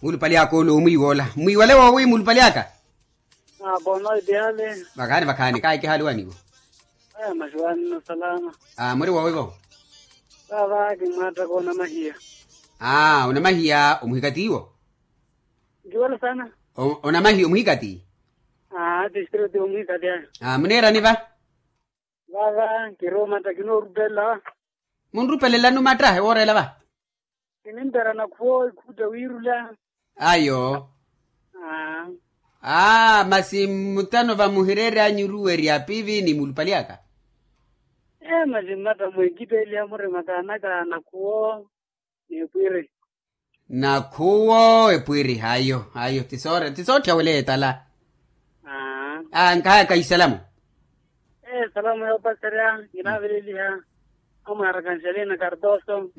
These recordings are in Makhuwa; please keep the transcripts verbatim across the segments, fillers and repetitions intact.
Muulupali aka ole omwiiwoola mwiiwale woowi muulupali aka. Vakhaani vakhaani kaahikihaaluwaniwo. Masiwaani nno salama. Muriwoowivo. Vaava kimmwaattaka onamahiya. Onamahiya omuhikatiiwo. Nkiwala sana. Onamahiya omuhikati. Aa tistreti omuhikati ayo. Muniirani va. Vaava nkiri omatta kinoorupelela. Munrupelelani omatta ewoorela va. Kinimperana khuwo ikhuutta wiirula. Ayo. Aa masi mmutano vamuhireeryanyu oruwerya pivi ni mulupali aka. Ee masi mmatta mweekitteeliha murima kaanaka nakhuwo. Ni epwiri. Nakhuwo epwiri ayo ayo ti sootthya weleya etala. Aa nkahaka isalamu. Ee salamu yoopaserya. Kinaaveleliha amwaaraka nxalina kartoso.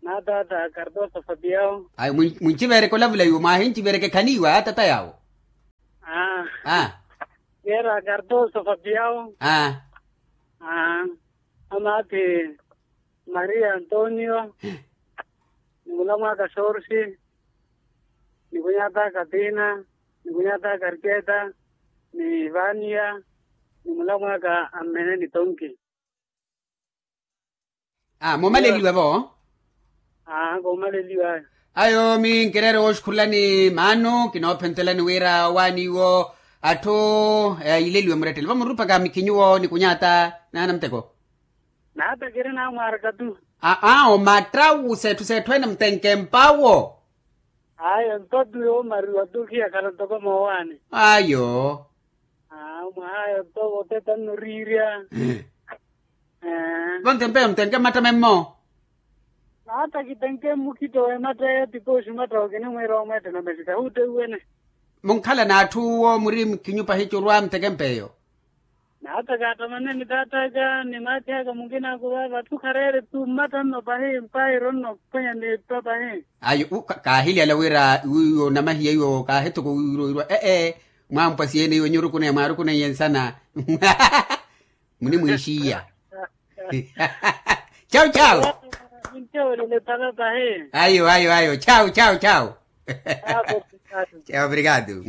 Naataata kartoso fapiao. Ayo muncivereke olavula iwo mwaahincivereke khaniiwa atata yaawo. Aa. Yeera kartoso fapiao. Aa. Amaathi maria antonio, ni mulamwaaka sorsi, ni kunyaataka tina, ni kunyaataka arketa, ni vania, ni mulamwaaka ammene ni tonki. Aa moomaleliwa vo. Aa koomaleliwa. Ayo mi nkireere wooxukhulani maano kinoophentelani wira owaaniwo atthu. Ayileliwe murettele vamurupaka mikhinyu wo ni kunyaata naana muteko. Naata kiri naamwaaraka tu. Aa omatta wu seetthu seetthu ene mutenke mpawo. Ayo mpatu yoomariwa tu khiyakhala ntoko moowaani. Ayo. Mwaha ayo ntoko otetanno oriirya. Vonte mpeyo mutenke mmatta memmo. Naata kitenke mmukhitto w'ematta eyo tipooxi mwatta okinimwiira omweettela masi kahuutteiwene. Munkhala n'atthu uwo muri mukhinyu pahi curwa muteke mpeyo. Naata kaattamane ni taat'aka ni maathi aka munkinaaku vaava atthu khareere tu mmatta nno pahi mpayiro nno phwanya n'eppa pahi. Ayo kaahiliyala wira wiiwo namahiya iwo kaahitoko wiiwo wirwa ee. Mwaampwa siyene iwe nyurukuneye mwaarukuneiye nsana. Munimwiixiya. Chau chau. Ayo ayo ayo chau chau chau. Chau obrigado.